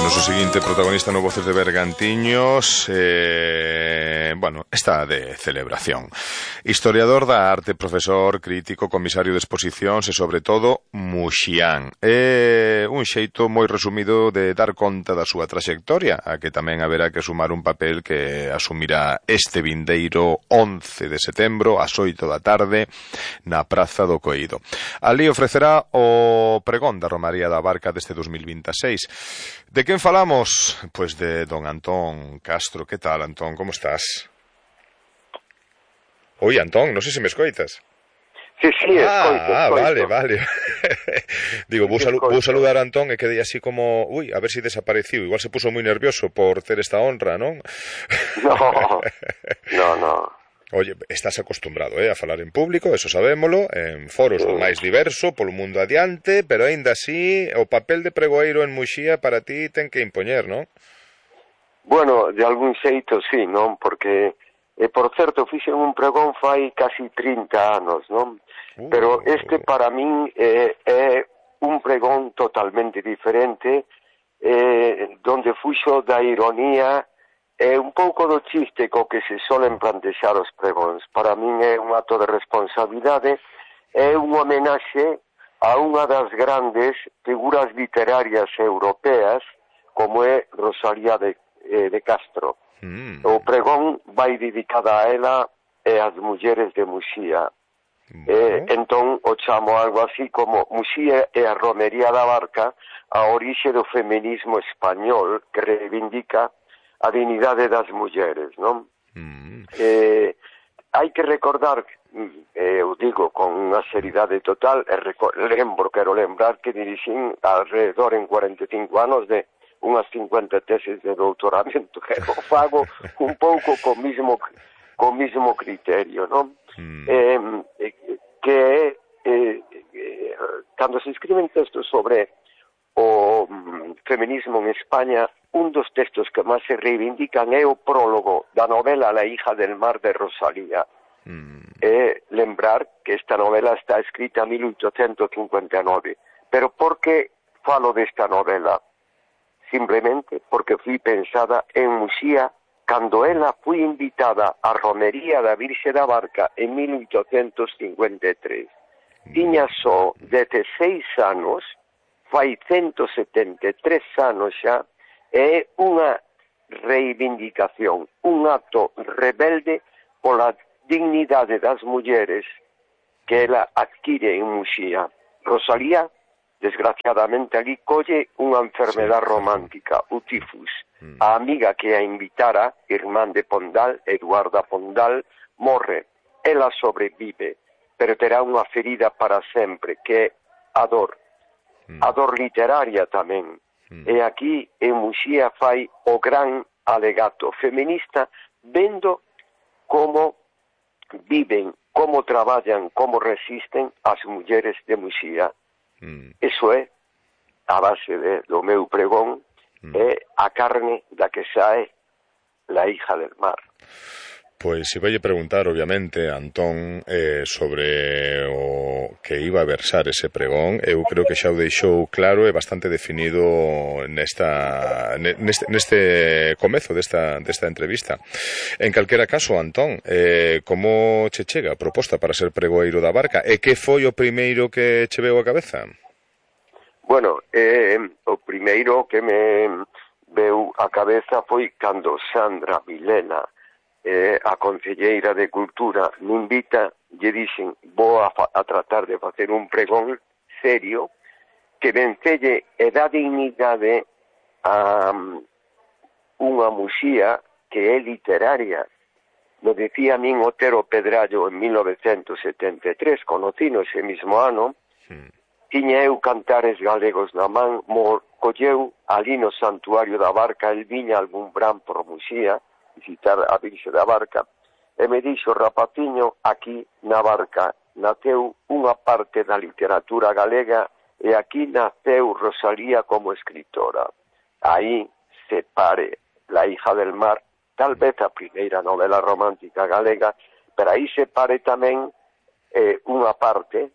noso seguinte protagonista no Voces de Bergantiños, está de celebración. Historiador da arte, profesor, crítico, comisario de exposicións e, sobre todo, muxián. É un xeito moi resumido de dar conta da súa traxectoria, a que tamén haberá que sumar un papel que asumirá este vindeiro 11 de setembro, ás 8 da tarde, na Praza do Coído. Ali ofrecerá o pregón da Romaría da Barca deste 2026. De quen falamos? Pois de don Antón Castro. Que tal, Antón? Como estás? Oi, Antón, non sei se me escoitas. Sí, escoito. Vale. Digo, vou saludar a Antón e quedei así como, a ver se desapareciu. Igual se puso moi nervioso por ter esta honra, non? No. Oye, estás acostumbrado a falar en público, eso sabémolo, en foros do máis diverso, polo mundo adiante, pero aínda así, o papel de pregoeiro en Muxía para ti ten que impoñer, non? Bueno, de algún xeito sí, non? Porque, por certo, fixen un pregón fai casi 30 anos, non? Pero este para min é un pregón totalmente diferente, donde fuxo da ironía é un pouco do chiste co que se solen plantexar os pregóns. Para min é un acto de responsabilidade, é un homenaxe a unha das grandes figuras literarias europeas, como é Rosalía de Castro. O pregón vai dedicada a ela e ás mulleres de Muxía. Entón, o chamo algo así como Muxía e a Romería da Barca, a orixe do feminismo español que reivindica a dignidade das mulleres, non? Hai que recordar, eu digo con unha seriedade total, quero lembrar que dirixín alrededor en 45 anos de unhas 50 teses de doutoramento, que o fago un pouco co mismo criterio, non? Cando se escriben textos sobre o feminismo en España, un dos textos que máis se reivindican é o prólogo da novela La hija del mar de Rosalía. Lembrar que esta novela está escrita en 1859. Pero por que falo desta novela? Simplemente porque fui pensada en Muxía cando ela foi invitada á Romería da Virxe da Barca en 1853. Tiña só 16 anos, fai 173 anos xa, é unha reivindicación, un acto rebelde pola dignidade das mulleres que ela adquire en Muxía. Rosalía, desgraciadamente, ali colle unha enfermedade romántica, o tifus. A amiga que a invitara, irmán de Pondal, Eduarda Pondal, morre. Ela sobrevive, pero terá unha ferida para sempre, que é a dor. A dor literaria tamén. E aquí en Muxía fai o gran alegato feminista, vendo como viven, como traballan, como resisten as mulleres de Muxía. Eso é a base do meu pregón, é a carne da que sae la hija del mar. Pois se vai preguntar, obviamente, Antón, sobre o que iba a versar ese pregón. Eu creo que xa o deixou claro e bastante definido neste comezo desta entrevista. En calquera caso, Antón, como che chega a proposta para ser pregoeiro da Barca? E que foi o primeiro que che veu a cabeza? Bueno, o primeiro que me veu a cabeza foi cando Sandra Vilela, a concelleira de Cultura, me invita, lle dixen, vou a tratar de facer un pregón serio que vencelle e dá dignidade a unha Muxía que é literaria. Lo decía a min Otero Pedrallo en 1973, conocino ese mismo ano, tiña eu cantares galegos na man, colleu ali no Santuario da Barca, el viña albumbrán por Muxía, visitar a Virxe da Barca, e me dixo, rapaciño, aquí na Barca naceu unha parte da literatura galega e aquí naceu Rosalía como escritora. Aí se pare La hija del mar, tal vez a primeira novela romántica galega, pero aí se pare tamén unha parte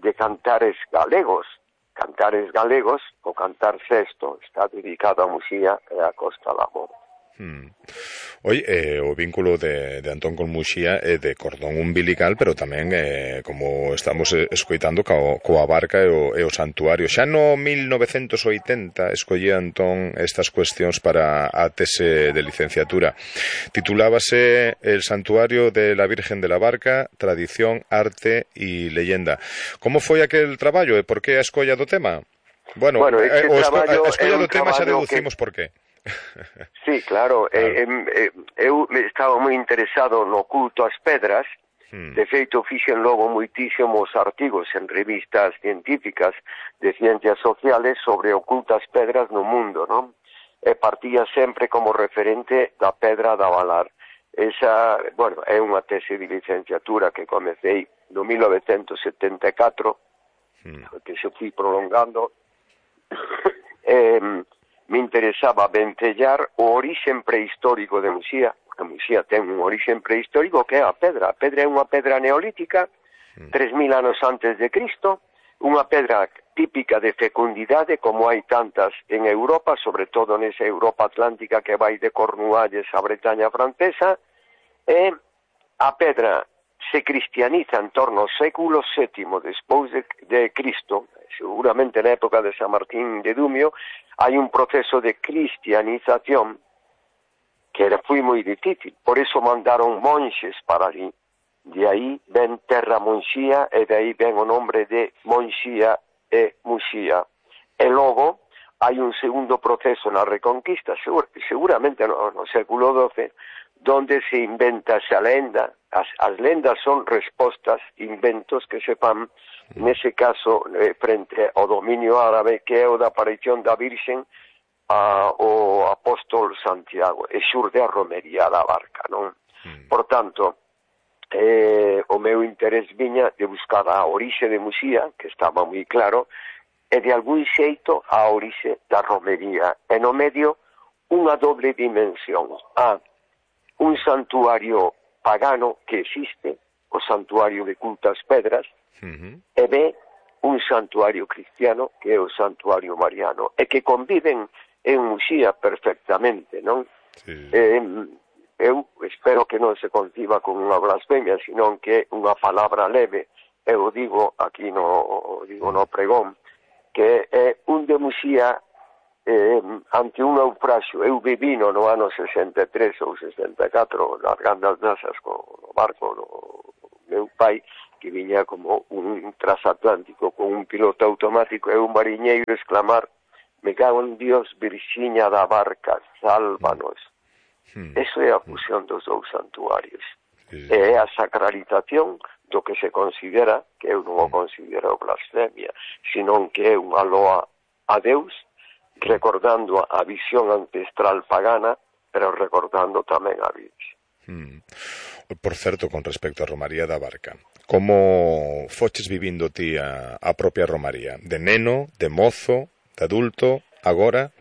de cantares galegos, Cantares Galegos, o Cantar Sexto, está dedicado a Muxía e a Costa da Morte. O vínculo de Antón con Muxía é de cordón umbilical, pero tamén, como estamos escoitando, coa barca e o santuario. Xa no 1980 escollía Antón estas cuestións para a tese de licenciatura. Titulábase El santuario de la Virgen de la Barca, tradición, arte e leyenda. Como foi aquel traballo e por que a escolla do tema? Bueno, a escolla do tema xa deducimos por qué. Sí, claro. Eu estaba moi interesado no culto ás pedras. De feito, fixen logo moitísimos artigos en revistas científicas de ciencias sociales sobre o culto ás pedras no mundo, non? E partía sempre como referente da pedra da Valar. Esa, bueno, é unha tese de licenciatura que comecei no 1974, que se fui prolongando. Me interesaba ventellar o orixen prehistórico de Muxía. A Muxía ten un orixen prehistórico que é a pedra. A pedra é unha pedra neolítica, 3000 anos antes de Cristo, unha pedra típica de fecundidade, como hai tantas en Europa, sobre todo nesa Europa atlántica que vai de Cornualles a Bretaña francesa, e a pedra se cristianiza en torno ao século VII despois de Cristo, seguramente na época de San Martín de Dumio. Hai un proceso de cristianización que foi moi difícil, por eso mandaron monxes para ali. De aí ven Terra Monxía e de aí ven o nombre de Monxía e Muxía. E logo hai un segundo proceso na Reconquista, seguramente no século XII, donde se inventa esa lenda. As lendas son respostas, inventos que se fan, nese caso, frente ao dominio árabe, que é o da aparición da Virxen ao apóstol Santiago, e xurde a romería da barca, non? Por tanto, o meu interés viña de buscar a orixe de Muxía, que estaba moi claro, e de algún xeito a orixe da romería. E no medio, unha doble dimensión. Un santuario pagano que existe, o santuario de culto ás pedras, e B, un santuario cristiano que é o santuario mariano, e que conviven en Muxía perfectamente, non? Sí. Eu espero que non se conciba con unha blasfemia, sino que é unha palabra leve. Eu digo aquí no pregón, que é un de Muxía ante un naufraxio. Eu vivino no ano 63 ou 64 largando as nasas co barco do meu pai, que viña como un transatlántico con un piloto automático, e un mariñeiro exclamar: me cago en Dios, Virxiña da barca, sálvanos. Eso é a fusión dos dous santuarios. É a sacralización do que se considera, que eu non o considero blasfemia, senón que é unha loa a Deus, recordando a visión ancestral pagana, pero recordando tamén a Virxe. Por certo, con respecto a Romaría da Barca, como foches vivindo ti a propia Romaría? De neno, de mozo, de adulto, agora?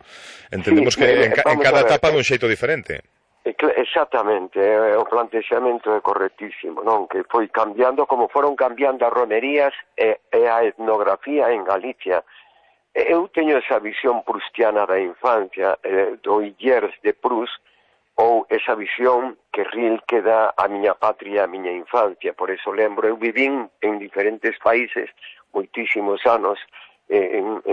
Entendemos que en cada etapa dun xeito diferente. Exactamente, o plantexamento é correctísimo, non? Que foi cambiando, como foron cambiando as romerías e a etnografía en Galicia. Eu teño esa visión prustiana da infancia, do Illers de Proust, ou esa visión que Rilke dá a miña patria, a miña infancia. Por eso lembro, eu vivín en diferentes países moitísimos anos, en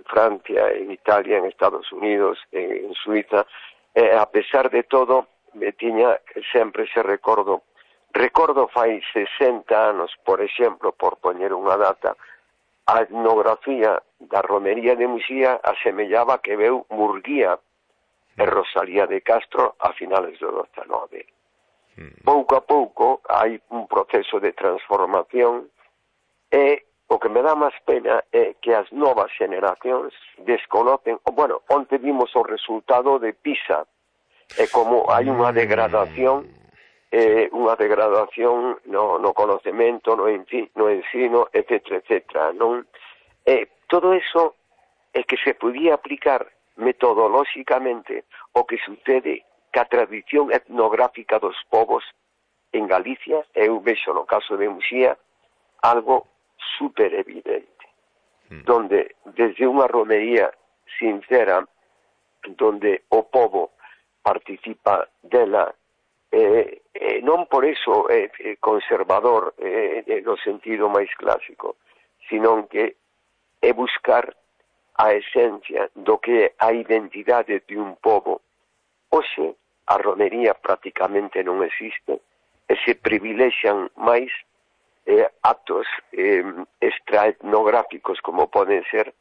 Francia, en Italia, en Estados Unidos, en Suiza. A pesar de todo, me tiña sempre ese recordo. Recordo fai 60 anos, por exemplo, por poñer unha data, a etnografía da romería de Muxía asemellaba que veu Murguía e Rosalía de Castro a finales do XIX. Pouco a pouco hai un proceso de transformación, e o que me dá máis pena é que as novas generacións desconocen, onte vimos o resultado de PISA, e como hai unha degradación no conocemento, no ensino, etc., non? Todo eso é que se podía aplicar metodolóxicamente o que sucede ca tradición etnográfica dos povos en Galicia. Eu vexo no caso de Muxía algo super evidente. donde desde unha romería sincera, donde o povo participa dela, non por eso é conservador no sentido máis clásico, sino que é buscar a esencia do que é a identidade de un povo. Hoxe, a romería prácticamente non existe, e se privilexian máis actos extraetnográficos como poden ser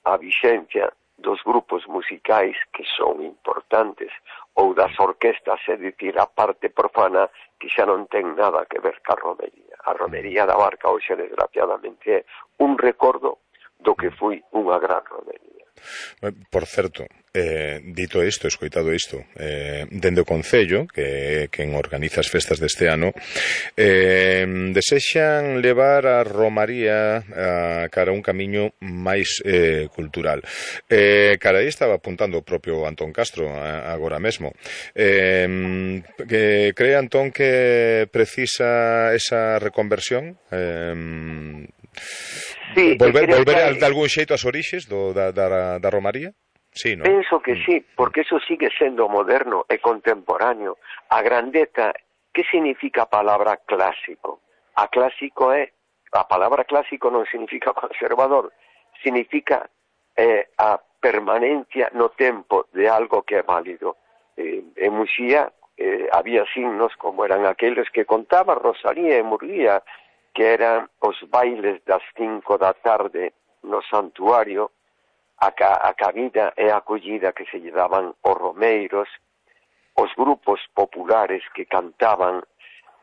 a vixencia dos grupos musicais que son importantes ou das orquestas, é dicir, a parte profana que xa non ten nada que ver ca romería. A romería da Barca hoxe desgraciadamente é un recordo do que foi unha gran romería. Por certo, dito isto, escoitado isto, dende o Concello, que quen organiza as festas deste ano, desexan levar a romaría cara a un camiño máis cultural. Cara aí estaba apuntando o propio Antón Castro agora mesmo. Que cree Antón que precisa esa reconversión? Sí, volver de algún xeito ás orixes da romaría? Sí, ¿no? Penso que sí, porque eso sigue sendo moderno e contemporáneo. A grandeza, que significa a palabra clásico? A palabra clásico non significa conservador, significa a permanencia no tempo de algo que é válido. En Muxía había signos como eran aqueles que contaba Rosalía e Murguía, que eran os bailes das 5 da tarde no santuario, a cabida e a acollida que se lle daban os romeiros, os grupos populares que cantaban,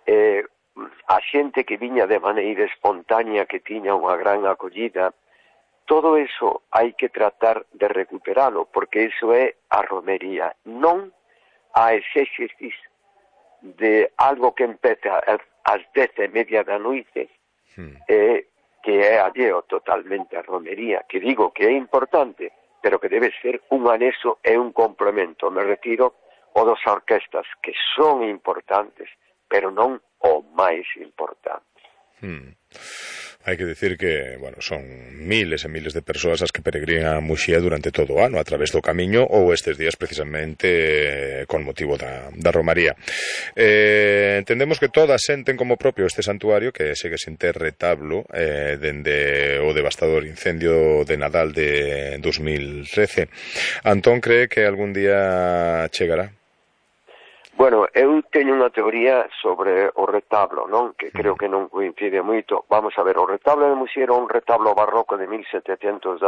a xente que viña de maneira espontánea que tiña unha gran acollida. Todo eso hai que tratar de recuperalo, porque iso é a romería, non a exégesis de algo que empeza ás 10:30 da noite, que é alleo totalmente a romería, que digo que é importante, pero que debe ser un anexo e un complemento. Me retiro o das orquestas, que son importantes, pero non o máis importante. Hai que decir que, bueno, son miles e miles de persoas as que peregrinan a Muxía durante todo o ano a través do camiño ou estes días precisamente con motivo da romaría. Entendemos que todas senten como propio este santuario que segue sin ter retablo dende o devastador incendio de Nadal de 2013. Antón cree que algún día chegará? Bueno, eu teño unha teoría sobre o retablo, non? Que creo que non coincide moito. Vamos a ver, o retablo de Muxía era un retablo barroco de 1719,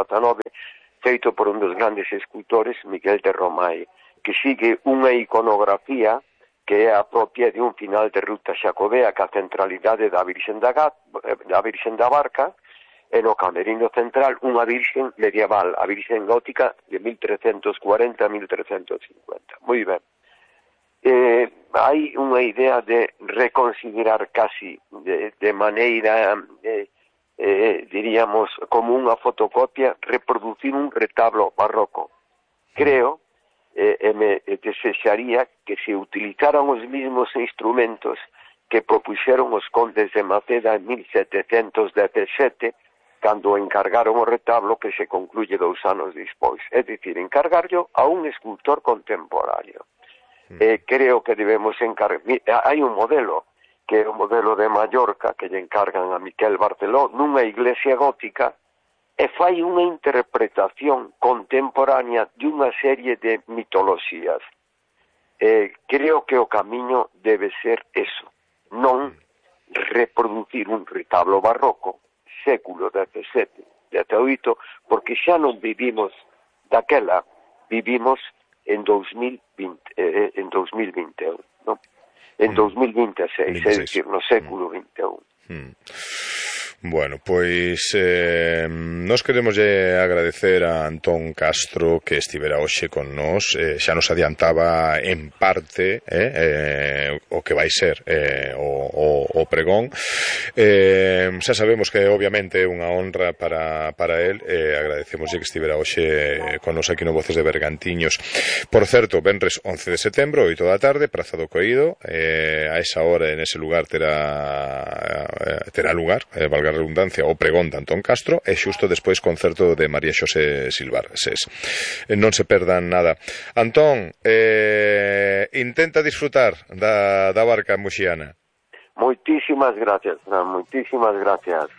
feito por un dos grandes escultores, Miguel de Romai, que sigue unha iconografía que é a propia de un final de ruta xacobea, que a centralidade da Virxen da Barca, e no camerino central unha virxen medieval, a virxen gótica de 1340 a 1350. Moi ben. Hai unha idea de reconsiderar casi de maneira, diríamos, como unha fotocopia, reproducir un retablo barroco. Creo, me desexaría que se utilizaran os mismos instrumentos que propuxeron os condes de Maceda en 1717, cando encargaron o retablo que se concluye 2 anos despois. É dicir, encargarlo a un escultor contemporáneo. Creo que debemos encargar. Hai un modelo, que é o modelo de Mallorca, que lle encargan a Miquel Barceló, nunha iglesia gótica, e fai unha interpretación contemporánea de unha serie de mitoloxías. Creo que o camiño debe ser eso, non reproducir un retablo barroco, século XVII, XVIII, porque xa non vivimos daquela, vivimos en 2021, ¿no? En 2026, é dicir, no século XXI. Bueno, pois nos queremos agradecer a Antón Castro que estivera hoxe con nós. Xa nos adiantaba en parte o que vai ser o pregón. Xa sabemos que obviamente é unha honra para él. Agradecemos que estivera hoxe con nós aquí no Voces de Bergantiños. Por certo, venres 11 de setembro, 8 da tarde, Praza do Coído. A esa hora, en ese lugar, terá lugar, valga valga a redundancia, o pregón de Antón Castro, e xusto despois concerto de María Xosé Silvares. Non se perdan nada. Antón, intenta disfrutar da barca muxiana. Moitísimas gracias, Fran, moitísimas gracias.